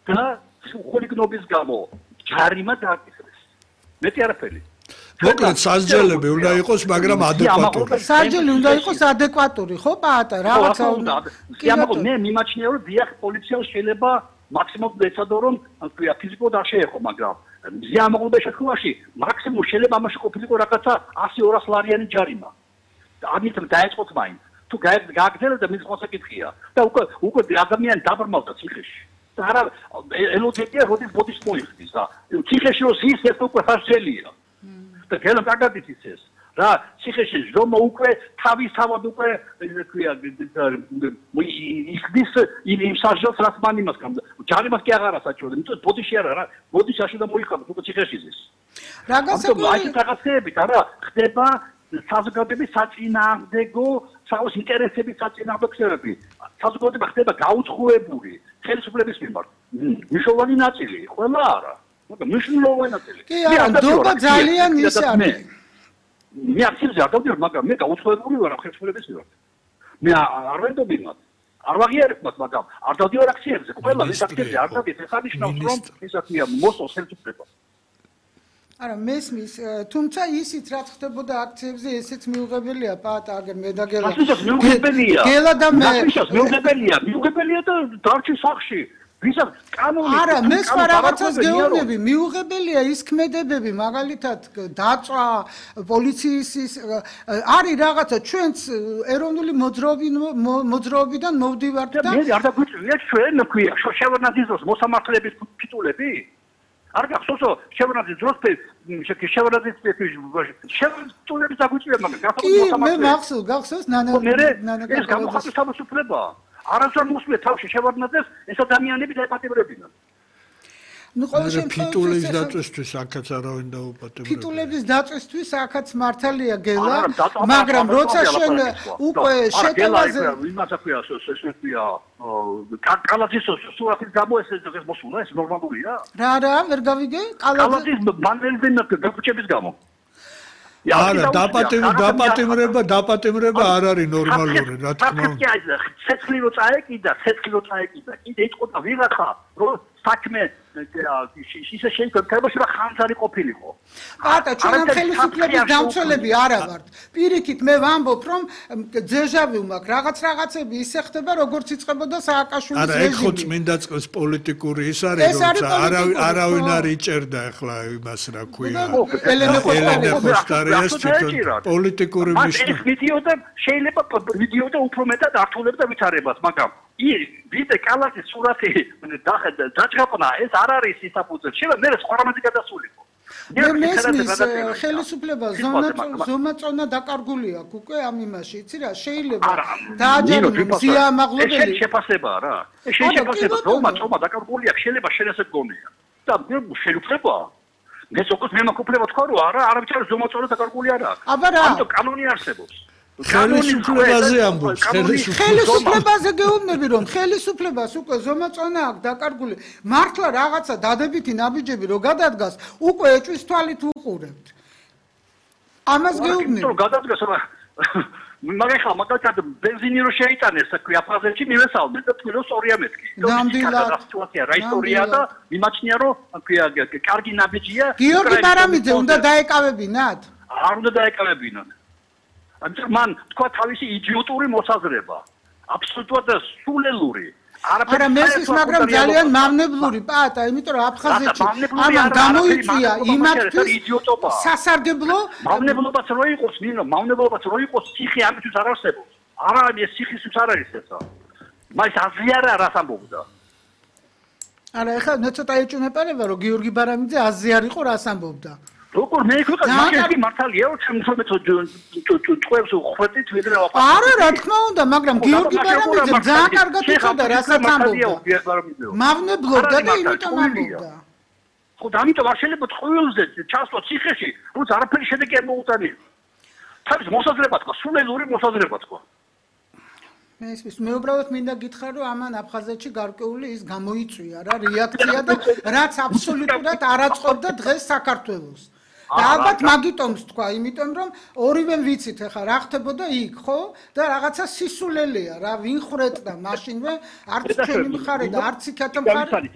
და ხულიგნობის გამო ჯარიმა დააკისრეს. მეტი არაფერი. მოკლედ სასჯელები უნდა იყოს, მაგრამ ადეკვატური. სასჯელი უნდა იყოს ადეკვატური, ხო, პაატა, რაღაცა უნდა. მე მიმაჩნია, რომ დიახ, პოლიციამ შეიძლება მაქსიმუმ ეცადო, რომ ფიზიკურად არ შეეხო, მაგრამ ზიამაღლობის შემთხვევაში მაქსიმუმ შეიძლება ამაში ყოფილიყო რაღაცა 100-200 ლარიანი ჯარიმა. ამით დაეწყოთ მაინც. თუ გააგრძელებდა და მის მოსაკითხია და უკვე ადამიანი დაბრმავდა ციხეში. და არა ელოდებია, როდის ბოდის მოიხდის და ციხეში რო ზის ეს უკვე სასჯელია. და გელა კარგად იცის რა ციხეში ზომო უკვე თავისთავად უკვე ქვია იხდის იმ სასჯელს რაც მან იმას გამ ჯარიმას კი აღარა საჭირო იმიტომ ბოდიში არა რა ბოდიში აშუდა მოიხადოს უკვე ციხეში ზის რა გასაგები რაღაცეებით არა ხდება საზოგადოების საწინააღმდეგო საოს ინტერესების საწინააღმდეგოები საზოგადოება ხდება გაუცხოებული ხელისუფლების მიმართ მნიშვნელოვანი ნაწილი ყველა არა მაგრამ მნიშვნელოვანი ნაწილი კი არა ნდობა ძალიან ის არის მე აქცევზე არ დავდივარ მაგრამ მე გაუცხოებული ვარ ხელისუფლების მიმართ მე არ ვენდობ იმათ არ ვაღიარებ მათ მაგრამ არ დავდივარ აქციებზე ყველა ეს აქციებზე არ დავდივარ ეს არნიშნავს რომ ისა ქვია მოსწონს ხელისუფლებას არა მესმის თუმცა ისიც რაც ხდებოდა აქციებზე ესეც მიუღებელია პაატა აგერ მე და გელა გელა და მე მიუღებელია და დარჩი სახში ვისაც კანონი არა მე სხვა რაღაცას გეუბნები მიუღებელია ის ქმედებები მაგალითად დაწვა პოლიციის არის რაღაცა ჩვენც ეროვნული მოძრაობიდან მოვდივართ და მე არ დაგვიწვია ჩვენ ქვია შევარდნაძის მოსამართლეების ფიტულები არ გახსოვსო შევარდნაძის დროს შევარდნაძის შევარდნაძის დაგვიწვია მაგრამ კი მე გახსოვს ნანა ეს გამოხატვის თავისუფლებაა არასდროს მოსვლე თავში შევარდნაძეს ეს ადამიანები დაეპატიმრებინან. ნუ ყოველ შემთხვევაში ფიტულების დაწესთვის აქაც არავინ დაუპატიმრებია. ფიტულების დაწესთვის აქაც მართალია გელა, მაგრამ როცა შენ უკვე შეტევაზე იმას აქვია ესეთია კალაძის სურათის გამო ეს მოსულა ეს ნორმალურია? რა ვერ გავიგე? კალაძის მანველზე გაგუჭების გამო. არა დაპატიმრება არ არის ნორმალური რა თქმა უნდა ცეცხლი რო წაეკიდა კიდე იტყოდა ვიღაცა რომ საქმე ისე შეიძლება რომ ხანძარი ყოფილიყო პატა ჩვენ ამ ხელისუფლების დამცველები არა ვართ პირიქით მე ვამბობ რომ ძეჟავი მაქვს რაღაცები ისე ხდება როგორც იწყებოდა სააკაშვილის რეჟიმი არა ეგ ხო წმინდა წყლის პოლიტიკური ის არის როცა არავინ არ იჭერდა ახლა იმას რა ქვია ელენე ხოსტარიას პოლიტიკური მნიშვნელობა შეიძლება ვიდეოდა უფრო მეტად ართულებდა ვითარებას მაგრამ ვიდე კალაძის სურათი დაჭრაპნა ეს არ არის ისაფუძე შეიძლება მე სხვა რამეზე გადასულიყო მე ხელისუფლება ზომაწონა დაკარგული აქვს უკვე ამ იმაში იცი რა შეიძლება დააჯერონ სიამაღლებელი შეფასებაა რა შეფასება ზომაწონა დაკარგული აქვს შეიძლება შენ ესე გონია და შეიძლება მე სოკოს მე მოკუპლება თქვა რომ არა არავითარ ზომაწონა დაკარგული არ აქვს ამიტომ კანონი არსებობს ხელისუფლებაზე ამბობს ხელისუფლებაზე გეუბნები რომ ხელისუფლებას უკვე ზომაწონა აქვს დაკარგული მართლა რაღაცა დადებითი ნაბიჯები რო გადადგას უკვე ეჭვის თვალით უყურებთ ამას გეუბნები რომ გადადგას მაგრამ ხა მაგალითად ბენზინი რო შეიტანეს საქმე აფხაზეთში მივესალმე და თვითონ სწორია მეთქი ნამდვილად სიტუაცია რა ისტორია და მიმაჩნია რომ კარგი ნაბიჯია გიორგი ბარამიძე უნდა დაეკავებინათ არ უნდა დაეკავებინათ ამიტომ მან თქვა თავისი იდიოტური მოსაზრება აბსოლუტურად სულელური არა მესმის მაგრამ ძალიან მავნებლური პაატა იმიტომ რომ აფხაზეთში ამან გამოიწვია იმათთვის სასარგებლო მავნებლობაც რო იყოს ნინო მავნებლობაც რო იყოს ციხე ამისთვის არ არსებობს არა ეს ციხისთვის არ არის ესა მას აზიარა რას ამბობდა არა ეხლა მე ცოტა ეჭვმეპარება რომ გიორგი ბარამიძე აზიარიყო რას ამბობდა როგორ მე ვიყავ მაგარი მართალია რომ ჩემ წვევს ხვეთით ვიდრე ვაფა არა რა თქმა უნდა მაგრამ გიორგი ბარამიძე ძალიან კარგად იცოდა რასაც ამბობდა მავნებლობდა და იმიტომ ამბობდა ხო და ამიტომ არ შეიძლება ტყუილზე ჩასვლა ციხეში როცა არაფერი შედეგი არ მოუტანია თავის მოსაზრება თქვა სულელური მოსაზრება თქვა მე უბრალოდ მინდა გითხრა რომ ამან აფხაზეთში გარკვეული ის გამოიწვია რა რეაქცია და რაც აბსოლუტურად არ აწყობდა დღეს საქართველოს და ალბათ მაგიტომს თქვა იმიტომ რომ ორივემ ვიცით ახლა რა ხდებოდა იქ ხო და რაღაცა სისულელეა რა ვინ ხრეტდა მაშინვე არც ჩვენი მხარე და არც იქათა მხარე